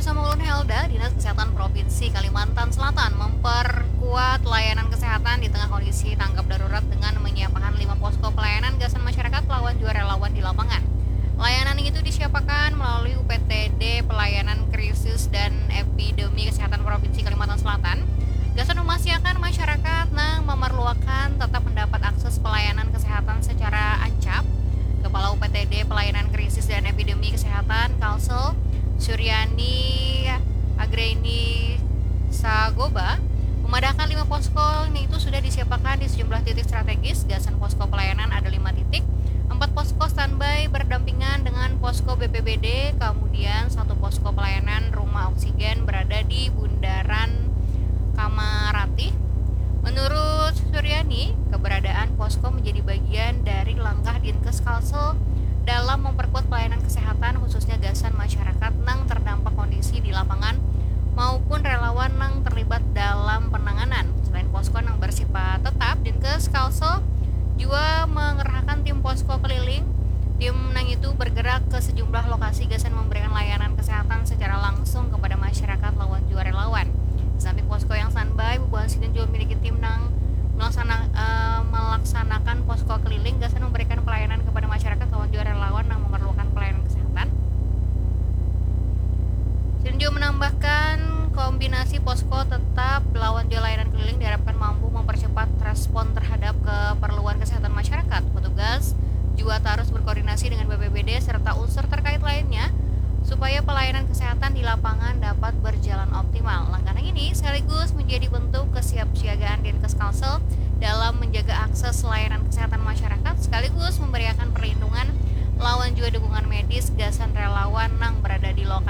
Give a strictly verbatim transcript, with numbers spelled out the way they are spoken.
Sama ulun Helda, Dinas Kesehatan Provinsi Kalimantan Selatan memperkuat layanan kesehatan di tengah kondisi tanggap darurat dengan menyiapkan lima posko pelayanan gasan masyarakat lawan jua relawan di lapangan. Layanan itu disiapakan melalui U P T D Pelayanan Krisis dan Epidemi Kesehatan Provinsi Kalimantan Selatan. Gasan memastikan masyarakat nang memerluakan tetap mendapat akses pelayanan kesehatan secara ancap, Kepala U P T D Pelayanan Krisis dan Epidemi Kesehatan Kalsel, Suryani Agreni Sagoba, memadahkan lima posko itu sudah disiapakan di sejumlah titik strategis. Gasan posko pelayanan ada lima titik, empat posko standby berdampingan dengan posko B P B D, kemudian satu posko pelayanan rumah oksigen berada di Bundaran Kamarati. Menurut Suryani, keberadaan posko menjadi bagian dari langkah Dinkes Kalsel dalam memperkuat pelayanan kesehatan, khususnya gasan masyarakat nang terdampak kondisi di lapangan maupun relawan nang terlibat dalam penanganan. Selain posko nang bersifat tetap, Dinkes Kalsel jua mengerahkan tim posko keliling. Tim nang itu bergerak ke sejumlah lokasi gasan memberikan layanan kesehatan secara langsung kepada masyarakat lawan jua relawan. Di samping posko yang standby, bubuhan sidin jua memiliki tim nang melaksana, eh, melaksanakan posko keliling gasan memberikan pelayanan kepada masyarakat lawan jua relawan nang memerlukan pelayanan kesehatan. Sidin jua menambahkan, kombinasi posko tetap lawan jua layanan keliling diharapkan mampu mempercepat respon terhadap keperluan kesehatan masyarakat. Petugas jua terus berkoordinasi dengan B P B D serta unsur terkait lainnya supaya pelayanan kesehatan di lapangan dapat berjalan optimal. Langkah ini sekaligus menjadi bentuk kesiapsiagaan Dinkes Kalsel dalam menjaga akses layanan kesehatan masyarakat, sekaligus memberiakan perlindungan lawan jua dukungan medis gasan relawan nang berada di lokasi.